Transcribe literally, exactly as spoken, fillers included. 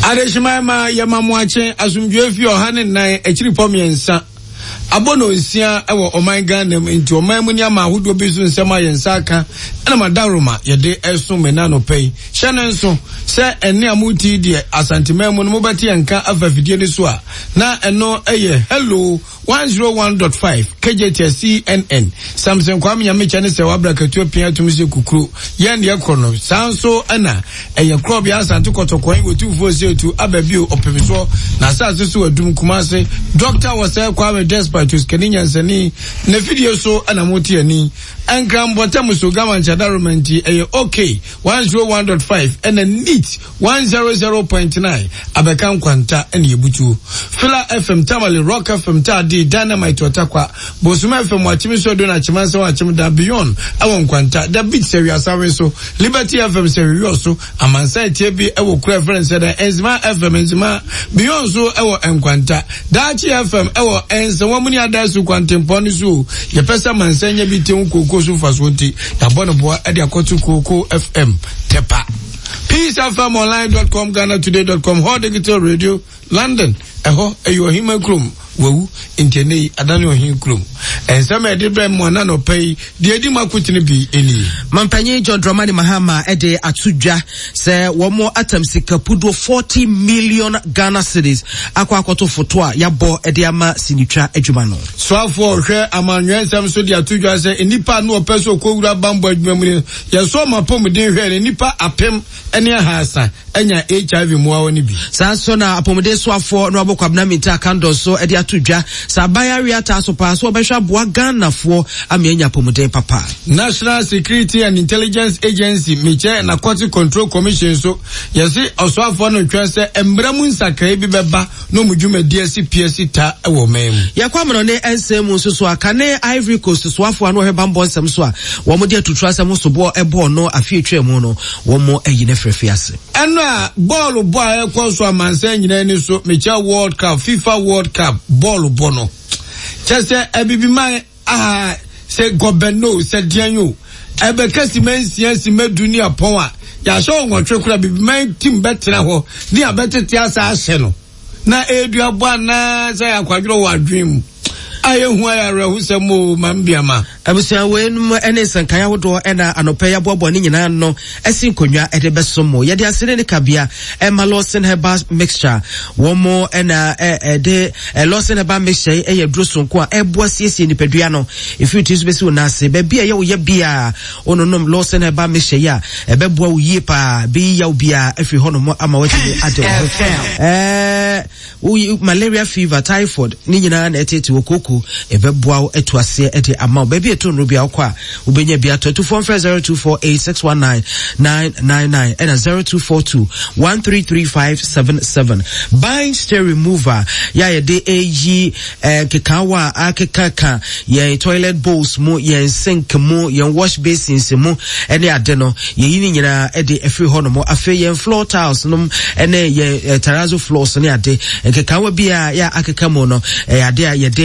Adehyeman ma yɛma mo akye asomdwoe fi ɔha ne nnan akyiripɔ mmiɛnsa abɔ no nsia wɔ ɔman Ghana mu. Nti ɔman mu nneɛma ahodoɔ bi so nsɛm a yɛn nsa aka ɛna madaroma yɛde ɛso me na anɔpa yi. Hyɛ no nso sɛ ɛne a moti deɛ Asanteman mu no mobɛte yɛn nka afa afidie no so a, na ɛno ɛyɛ Hello one oh one point five K J T C N N. Samson Kwame Nyamekyɛ ne sɛ wabra katua pia tum sɛ kukuro yɛn deɛ korɔ no saa nso, ɛna ɛyɛ korɔbea Asante Kɔtɔkɔn wɔtumfoɔ sɛ etu aba bio ɔpem soɔ na asase so adum Kumase Doctor Wɔsɛ Kwame Despite osikani nyansani na fidie so ɛna mote ani Nkran so gama nkyɛdaroma, nti ɛyɛ OK one oh one point five ɛna Neat one hundred point nine abɛka Nkwanta ɛna yɛbutuo Fila F M Tamale, Rock F M Taadi, Dynamite Ɔtakwa, Bosoma F M Wakyem so do na Akyemansa Wakyem da Beyond ɛwɔ Nkwanta, The Beat sɛ Wiasawe so, Liberty F M sɛ Wiwɔ so, Amansa etie bi ɛwɔ kura ɛfrɛ nsɛ dɛ Enzima F M, Enzima Beyond so ɛwɔ Nkwanta, Daakye F M ɛwɔ Nsɛnwa mu ne Adasu kwantempɔn no so. Yɛpɛ sɛ amansa nya bi te ho kooko so mfasoɔ, nti yɛabɔ no boa ɛde akɔto Kooko F M Tɛpa, Peace F M online dot com, Ghana Today dot com, Hall Digital Radio London. Ɛhɔ ɛyɛ ɔhema kurom wawu, nti ɛnɛ yi adane ɔhen kurom. Ɛnsɛm a ɛde brɛ mu ana nɔpɛ yi deɛ ɛdi mu akotene bi ɛnie. Mampanyin John Dramani Mahama ɛde ato dwa sɛ wɔn atam sika puduo forty million Ghana cedis akɔ akɔto foto a yabɔ ɛde ama sinitwa adwuma no. Soafoɔ ɔhwɛ amanyɔɛ nsɛm so de ato dwa sɛ nnipa no ɔpɛ sɛ ɔkɔwura bambɔ adwuma mu no, yɛsɔ ɔma apɔmuden hwɛ no, nnipa apem ne ahasa anya H I V mmoawa no bi. Saa nso na apɔmuden soafoɔ no abɔ Kwabena Mintah Akandoh so de ato dwa sɛ aban awe ataa so paa so wɔbɛhwɛ aboa Ghanafoɔ ama anya apɔmuden papa. National Security and Intelligence Agency, mekyɛ Narcotic Control Commission so, yɛse ɔsoafoɔ no twɛn sɛ mmara mu nsakrae bi bɛba na ɔmu dwumadi asi pia si ta wɔ ɔman mu. Yɛkɔ amanɔne nsɛm mu nso so a, kane Ivory Coast soafoɔ a no ɔhwɛ bambɔ nsɛm so a wɔn de atutu asɛm ho soboɔ ɛbɔɔ no afe atwa mu no, wɔn ayi no afiri ase. Ɛno a bɔɔlo bɔ a ɛkɔ so amansan nyinaa ni so, mekyɛ World Cup, FIFA World Cup bɔɔlo bɔ no, kyɛ sɛ abibiman aha sɛ gɔbɛno sɛ deɛn o, ɛbɛka sima nsia sima du ne apɔn a yɛahyɛ wɔ nwɔtwe kora, bibiman team bɛtena hɔ ne abɛtete asa ahyɛ no na ɛredua bɔ anaa sɛ akwadworɔ wɔ adwene mu a yɛhu ayɛ awerɛhosɛm o ma mbiama. Abusua, weinom ne nsɛnkae ahodoɔ ɛna anɔpɛ yi aboaboa ne nyinaa no ɛsi nkonnwa ɛde bɛsom mo. Yɛde asene ne kabea ɛma Lawson Herbal Mixture. Wɔn mo ɛna ɛde Lawson Herbal Mixture yi ɛyɛ duro sonko a ɛboa siesie nipadua no efiri ti so bɛsi wo n'ase baabi a ɛyɛ wo yɛ bia. Wononom Lawson Herbal Mixture yi a, ɛbɛboa wo yie paa, bɛyi yaw bia afiri hɔnom ama watumi ade wo ho. Ɛɛ woyi malaria, fever, typhoid ne nyinaa na ɛtete wɔ koko, ɛbɛboa wo atu aseɛ ɛde ama wo. Baabi ɛto nnuro bi a wokɔ a, wobɛnya bi atɔ. Atufoɔ mfrɛ zero two four eight six one nine nine nine nine ɛna zero two four two one three three five seven seven. Bind stain remover yɛ a yɛde ɛyi nkekaawa a akekaka yɛn toilet bowls mu, yɛn sink mu, yɛn wash basins mu ɛne ade no, yɛyi ne nyinaa ɛde ɛfiri hɔ nom. Afei yɛn floor tiles nom ɛne yɛn terrazzo floors ne ade, nkekaawa bi a yɛ akeka mu no, ɛyɛ ade a yɛde